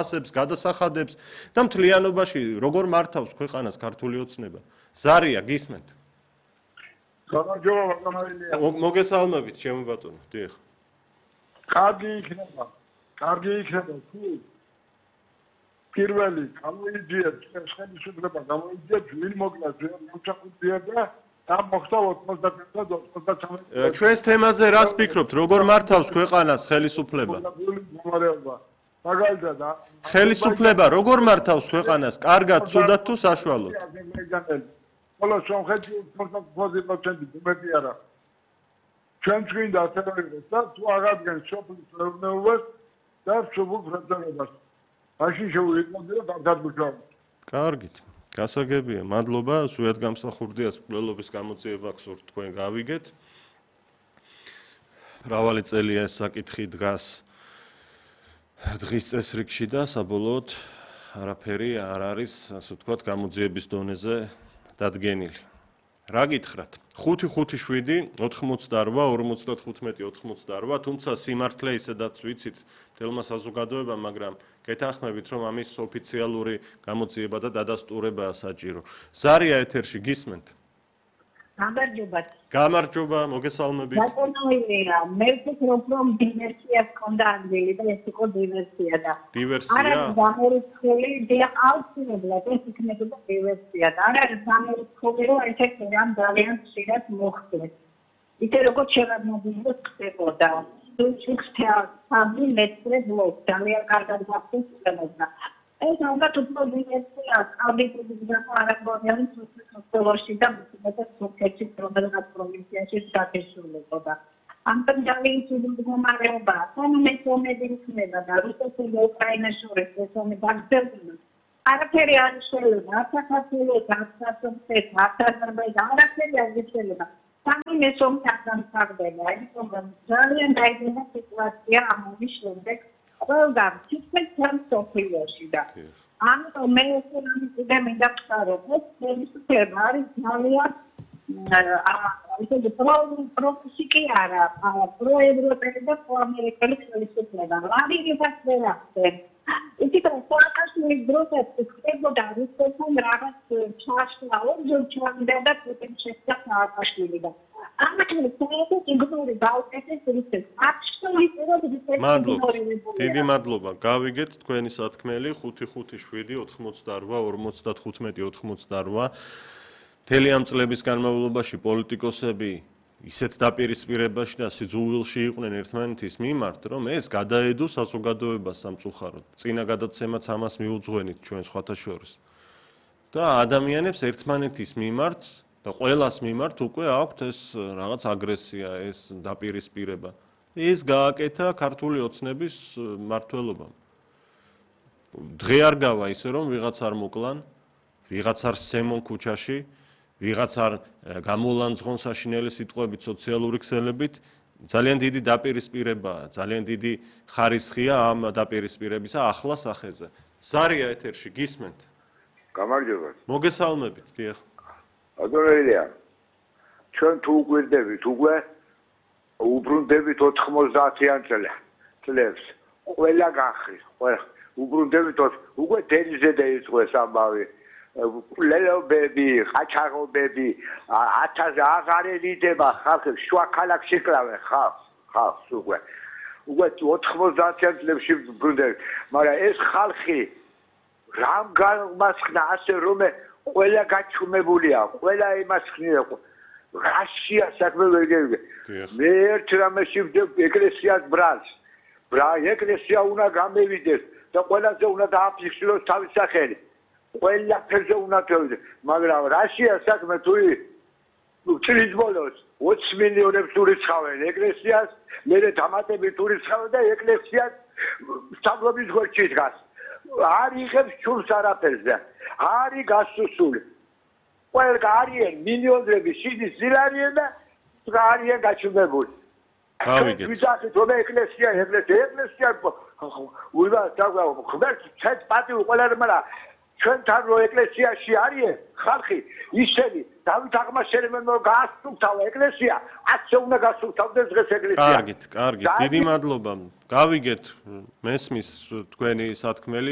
ასებს, გადასახადებს და მთლიანობაში როგორ მართავს ქვეყანას ქართული ოცნება. ზარია გისმენთ. მოგესალმებით, ჩემო ბატონო, დიახ. კარგი იქნება თუ პირველი გამოიძიეთ ხელისუფლება გამოიძიეთ ვინ მოკლა მოჩაყუდია და მოხდა 99-99 ჩვენს თემაზე რას ფიქრობთ, როგორ მართავს ქვეყანას ხელისუფლება? მაგალითად ხელისუფლება როგორ მართავს ქვეყანას, კარგად, ცუდად თუ საშუალოდ? ხოლო სომხეთი 50% მეტი არა. ჩვენც გვინდა ასე იყოს და თუ აღადგენს სოფლის მეურნეობას და სოფლის მრეწველობას. მაშინ შეუძლია დამთავრება. კარგით. გასაგებია, მადლობა, სულიად გამსახურდიას მკვლელობის გამოძიება გსურთ თქვენ გავიგეთ. მრავალი წელია ეს საკითხი დგას დღის წესრიგში და საბოლოოდ არაფერი არ არის, ასე ვთქვათ, გამოძიების დონეზე დადგენილი. რა გითხრათ? 5-5-7 88 55 88, თუმცა სიმართლე ისედაც ვიცით თელმა საზოგადოებამ, მაგრამ გეთანხმებით, რომ ამის ოფიციალური გამოძიება და დადასტურებაა საჭირო. ზარია ეთერში გისმენთ? გამარჯობათ. გამარჯობა, მოგესალმებით. ბატონოია, მე ვფიქრობ, რომ დივერსია ჰქონდა ადგილი და ეს იყო დივერსია და დივერსია? არ არის გამორიცხული, აუცილებლად ეს იქნებოდა დივერსია და არ არის გამორიცხული, რომ ერთ-ერთი რამ ძალიან ხშირად მოხდეს. ისე როგორც შევარდნobildოს ხდებოდა. თუ სამი მეტრი ბლოკ ძალიან კარგად გახსოვდა. ეს ალბათ უფრო დივერსია, ავდიტების გამო არ ამბობენ სოფლში და მეტად სოფლში რომელიღაც პროვინციაში დაგესრულებოდა. ამიტომ ძალიან ცუდი მდგომარეობა. სამი ომები იქნება და რუსეთსა და უკრაინას შორის ეს ომი გაგრძელდება. არაფერი არ შეიძლება, არც საქართველოს, არც სომხეთს, არც აზერბაიჯანს, არაფერი არ შეიძლება. სამი ომი არ დამთავრდება. იმიტომ რომ ძალიან დაიწყება სიტუაცია ამ ომის შემდეგ. ყველგან თითქმის მთელ მსოფლიოში და ამიტომ მე უკვე მინდა ვთქვა, ეს ხელისუფლება არის ძალიან ისეთი პროფესიკი არა, პროევროპელი და პროამერიკელი ხელისუფლება. ვარირებას ვერ ახდენს. ითქვა, სააკაშვილის დროსაც ხდებოდა რუსეთთან რაღაც ჩაშლა, ორჯერ ჩავიდა და პუტინს შეხვდა სააკაშვილი და ამიტომ საერთოდ იგნორი დაუკეთეს რუსეთს. დიდი მადლობა. გავიგეთ თქვენი სათქმელი 5-5-7 88 55 88. მთელი ამ წლების განმავლობაში პოლიტიკოსები ისეთ დაპირისპირებაში და სიძულვილში იყვნენ ერთმანეთის მიმართ, რომ ეს გადაედო საზოგადოებას სამწუხაროდ. წინა გადაცემაც ამას მიუძღვენით ჩვენ სხვათა შორის. და ადამიანებს ერთმანეთის მიმართ და ყველას მიმართ უკვე აქვთ ეს რაღაც აგრესია, ეს დაპირისპირება. ეს გააკეთა ქართული ოცნების მმართველობამ. დღე არ გავა ისე რომ ვიღაც არ მოკლან, ვიღაც არ სემონ ქუჩაში, ვიღაც არ გამოლანძღონ საშინელი სიტყვებით სოციალური ქსელებით, ძალიან დიდი დაპირისპირებაა, ძალიან დიდი ხარისხია ამ დაპირისპირებისა ახლა სახეზე. ზარია ეთერში გისმენთ? გამარჯობა. მოგესალმებით, დიახ. ბატონოია, ჩვენ თუ გვერდებით უკვე უბრუნდებით 90-იან წლებს. ყველა გახრის, ყველა უბრუნდებით უკვე დენიზე დაიწყო ეს ამბავი. ლელობები, ხაჩაღობები, 1000 აღარ ერიდება ხალხებს, შუა ქალაქში კლავენ ხალხს უკვე. უკვე 90-იან წლებში უბრუნდებით. მაგრამ ეს ხალხი რამ გამასხნა ასე რომ ყველა გაჩუმებულია, ყველა იმას ხნია. რაშია საქმე ვერ გიგე. მე ერთ რამეში ეკლესიას ბრალს. ეკლესია უნდა გამევიდეს და ყველაზე უნდა დააფიქსიროს თავის სახელი. ყველაფერზე უნდა თევდეს. მაგრამ რაშია საქმე თუ წლის ბოლოს 20 მილიონებს ურიცხავენ ეკლესიას, მერე დამატებით ურიცხავენ და ეკლესიას სტაბლობის გვერდში დგას. არ იღებს ჩურს არაფერზე. არის გასუსული. ყველა არიან მილიონები შიდის ზილარიან და არიან გაჩუმებული. გავიგეთ. ვიზახით რომ ეკლესია უიმა და ხმერთ ცეთ პატივი ყველა მაგრამ ჩვენთან რო ეკლესიაში არიან ხალხი ისინი დავით აღმაშენებელმა გაასწრუფთავა ეკლესია, ასე უნდა გასწრუფთავდეს დღეს ეკლესია. კარგით, დიდი მადლობა. გავიგეთ მესმის თქვენი სათქმელი.